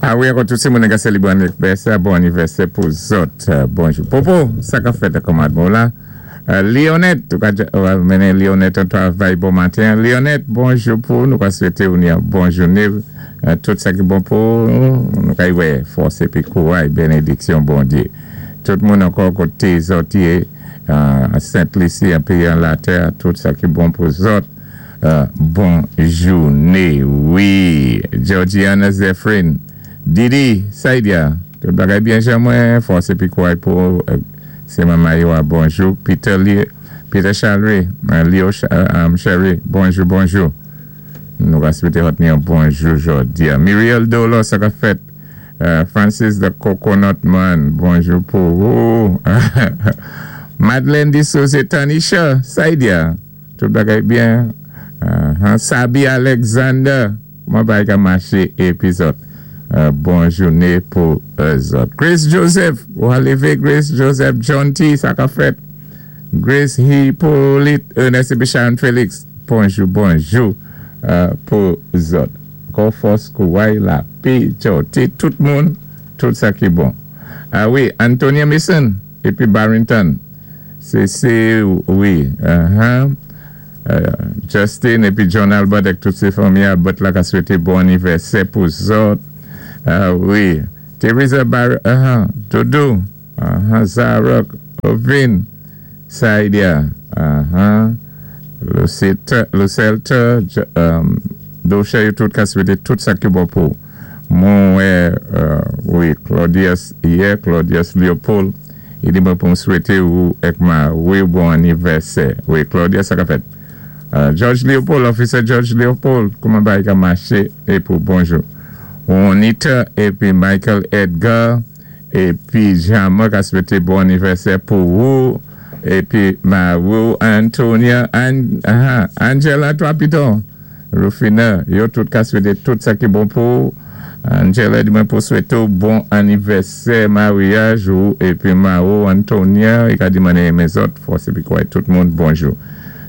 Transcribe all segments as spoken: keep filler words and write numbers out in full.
A wi, ankò tout sé moun ka sélébré anivèsè, bon anivèsè pou zòt. Bonjou. Popo, sa ka fèt kòman bon la? Lionette, ou mennen Lionette an travay bon maten. Lionette, bonjou pou nou ka swété ou ni bon jouné. Tout sa ki bon pou nou ka wè fòs épi kouray, bénédiksyon Bondyé. Tout moun ankò koté zòt yé, Sainte-Lucie, an péyi an latè, tout sa ki bon pou zòt. Bon jouné, wi. Georgiana Zephyrin, Didi, Saidia, tout bagay byen jan mwen, fòs épi kouray pou sé manman yo a bonjou. Peter Peter Chalry, Leo Sherry, bonjou, bonjou. Nou ka swété zòt ni yon bonjou jòdi. Muriel Dolo, sa ka fèt. Francis the Coconut Man, bonjou pou ou. Madeleine Dissose Tanisha, Saidia, tout bagay byen. Sabi Alexander, mwen bay ka maché épi zòt. Bon jouné pou zòt. Grace Joseph, ou a lévé Grace Joseph, John T, sa ka fèt. Grace Hippolyte, Ernest épi Sharon Felix, bonjou, bonjou pou zòt. Kò fòs kouray lapè, T, tout moun, tout sa ki bon. A wi, Antonia Mason, épi Barrington, sé, sé, wi, Justin, épi John Albert, ak tout sé fanmi Albert la ka swété bon anivèsè pou zòt. A wi, Teresa Bar, Dodo, Zara, Ovin, Saidia, Lucelta, Dosha, yo tout ka swété tout sa ki bon pou. Mwen, wi, Claudius, yè, Claudius Leopold, i di mwen pou m swété ou ek ma, wi, bon anivèsè. Wi, Claudius, sa ka fèt. George Leopold, Officer George Leopold, kouman bagay ka maché, é pou bonjou. Juanita, épi Michael Edgar, épi Jean-Marc a swété bon anivèsè pou ou, épi Marou, Antonia, Angela Trapiton, Rufina, yo tout ka swété tout sa ki bon pou ou. Angela di mwen pou swété ou bon anivèsè maryaj ou, épi Marou, Antonia, i ka di mwen renmen zòt, fòs épi kouray, tout moun, bonjou.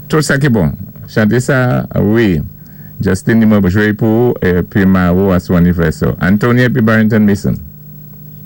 Tout sa ki bon, chanté sa, wi, Justin di mwen pou jwé pou ou, épi Marou a sou anivèsè. Antonia épi Barrington Mason.